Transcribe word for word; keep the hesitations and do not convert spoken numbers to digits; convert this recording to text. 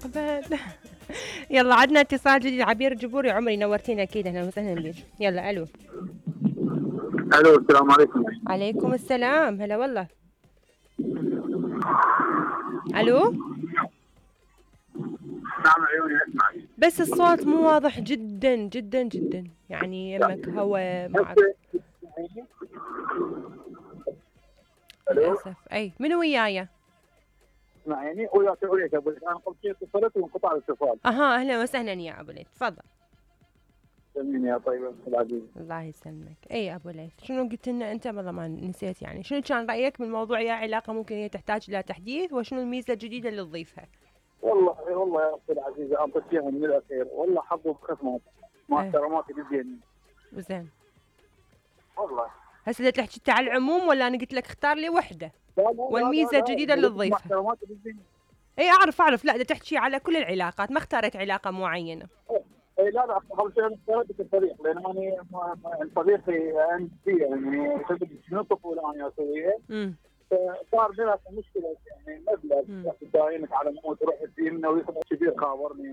المستقبل. يلا عدنا اتصال جديد. عبير الجبوري، عمري نورتينا اكيد، اهلا وسهلا بك. يلا الو. الو السلام عليكم. عليكم السلام، هلا والله. الو. نعم عيوني اسمعك، بس الصوت مو واضح جدا جدا جدا، يعني يمك هوا معك. للاسف. اي منو وياي؟ اسمعيني وياك وياك ابو انا قبل شوي اتصلت وانقطع الاتصال. اها اهلا وسهلا يا ابو ليث، تفضل. سلميني يا طيبه العزيز. الله يسلمك. اي ابو ليث، شنو قلت لنا انت؟ والله ما نسيت. يعني شنو كان رايك بالموضوع؟ يا علاقه ممكن هي تحتاج الى تحديث، وشنو الميزه الجديده اللي تضيفها؟ والله والله يا اختي العزيزه اعطيك اياها من الاخير، والله حظ وخصمات مع احتراماتي بالزين. زين. والله هسه بدك تحكي انت على العموم ولا انا قلت لك اختار لي وحده؟ لا لا والميزه الجديده اللي تضيفها. مع احتراماتي بالزين. اي اعرف اعرف، لا بدك تحكي على كل العلاقات، ما اختارك علاقه معينه. اي لا لا قبل شوي اخترت الطريق، لان انا صديقي عندي يعني شنو الطفوله انا اسويها. امم صار بيننا مشكله يعني مبلغ داينك على مود روح الدين ويخبر كبير خابرني